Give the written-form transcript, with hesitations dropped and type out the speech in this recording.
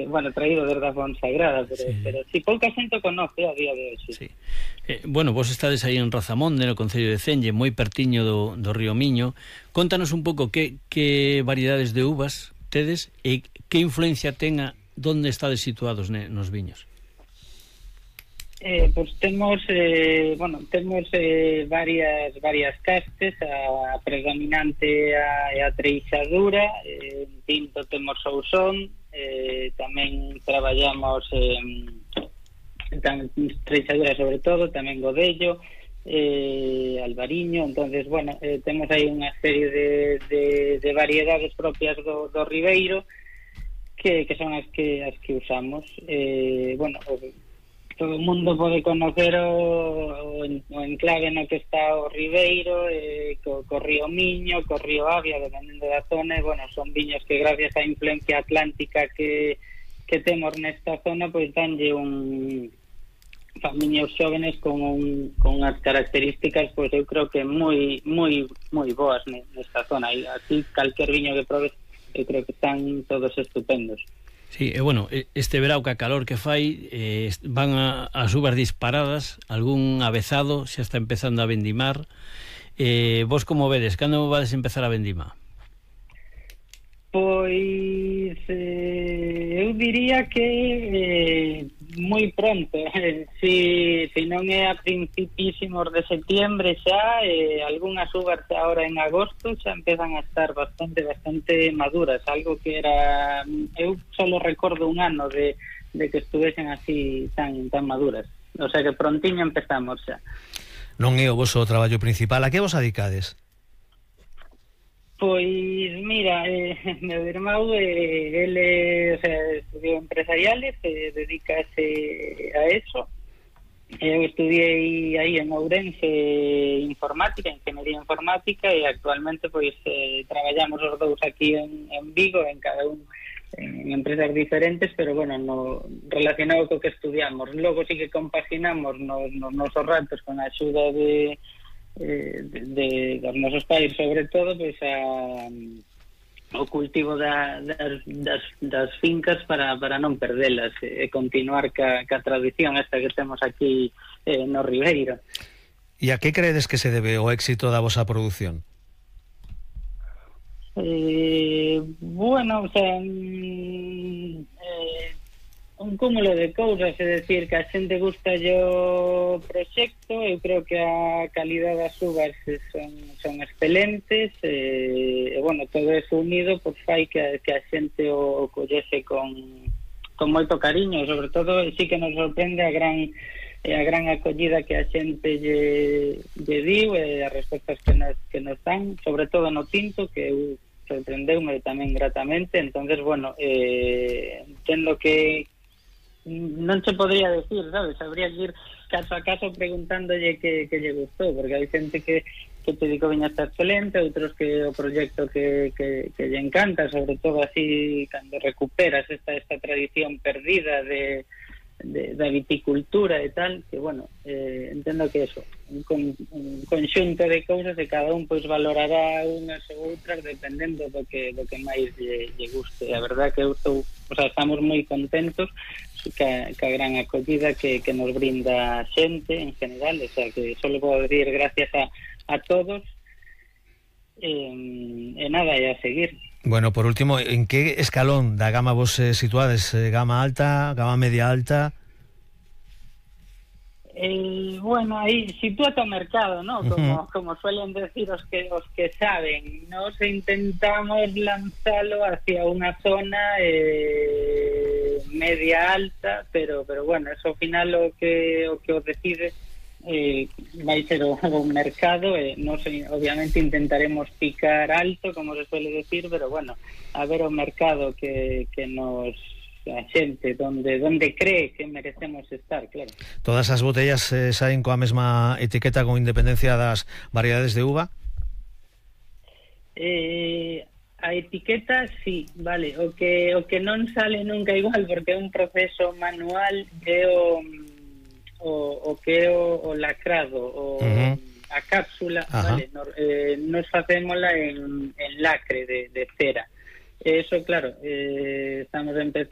bueno, traído desde a Fonsagrada, Sí. pero si pouca xente o conoce a día de hoxe. Sí. Bueno, vos estades aí en Razamonde, no concello de Cenlle, moi pertiño do río Miño. Contanos un pouco que variedades de uvas tedes e que influencia ten donde estades situados nos viños. Pois temos varias castes. A predominante é a treixadura. En tinto temos Sousón. Tamén traballamos treixadura sobre todo, tamén Godello, Albariño. Entonces, bueno, temos aí unha serie de variedades propias do Ribeiro que son as que usamos. Bueno, todo o mundo pode conocer o enclave no que está o Ribeiro, co río Miño, co río Avia, dependendo da zona. Bueno, son viños que gracias á influencia atlántica que temos nesta zona, pois danlle viños xóvenes con unhas características, pois eu creo que moi boas nesta zona. E así calquer viño que probes, eu creo que están todos estupendos. Sí, bueno, este verao que a calor que fai, van as uvas disparadas, algún avezado xa está empezando a vendimar. Vos como vedes, cando vades empezar a vendimar? Pois eu diría que moi pronto. Si non é a principísimos de septiembre xa, algunhas uvas agora en agosto xa empezan a estar bastante maduras, algo que era, eu solo recordo un ano de que estuvesen así tan maduras. O sea que prontiño empezamos xa. Non é o voso traballo principal, a que vos adicades? Pois mira, meu irmão, ele estudiou empresariales, dedícase a eso. Eu estudiei aí en Ourense informática, ingeniería informática, e actualmente pois traballamos os dous aquí en Vigo, en cada un en empresas diferentes, pero bueno, relacionado co que estudiamos. Logo sí que compaginamos nos nosos ratos con a axuda de dos nosos pais, sobre todo, pois o cultivo das fincas para non perdelas e continuar ca tradición esta que temos aquí no Ribeiro. E a que credes que se debe o éxito da vosa produción? Bueno, o sea, un cúmulo de cousas, é dicir, que a xente gusta o proxecto. Eu creo que a calidad das uvas son excelentes, e bueno, todo eso unido pois fai que a xente o collese con moito cariño. Sobre todo sí que nos sorprende a gran acollida que a xente lle diu, e as respostas que nos dan, sobre todo no tinto, que eu sorprendeume tamén gratamente. Entonces, bueno, entendo que non se podría decir, sabes? Habría que ir caso a caso preguntándolle que lle gustou, porque hai xente que te digo viña está excelente, outros que o proxecto que lle encanta, sobre todo así cando recuperas esta tradición perdida da viticultura e tal, que bueno, entendo que eso, un conxunto de cousas, e cada un pois valorará unhas ou outras dependendo do que máis lle guste. A verdad que estamos moi contentos ca gran acollida que nos brinda a xente en general. O sea que solo podo decir gracias a todos, e nada, e a seguir. Bueno, por último, en que escalón da gama vos situades? Gama alta, gama media alta? Bueno, aí sitúate o mercado, ¿no? Como suelen decir os que saben. Nos intentamos lanzalo hacia unha zona media alta, pero bueno, eso ao final o que o decide vai ser o mercado. Nos obviamente intentaremos picar alto, como se suele decir, pero bueno, a ver o mercado que nos a xente donde cree que merecemos estar, claro. Todas as botellas saen coa mesma etiqueta con independencia das variedades de uva? A etiqueta sí, vale. O que non sale nunca igual, porque é un proceso manual, é o que é o lacrado, a cápsula, vale. Nos facémola en lacre de cera. Eso, claro, estamos a empezar.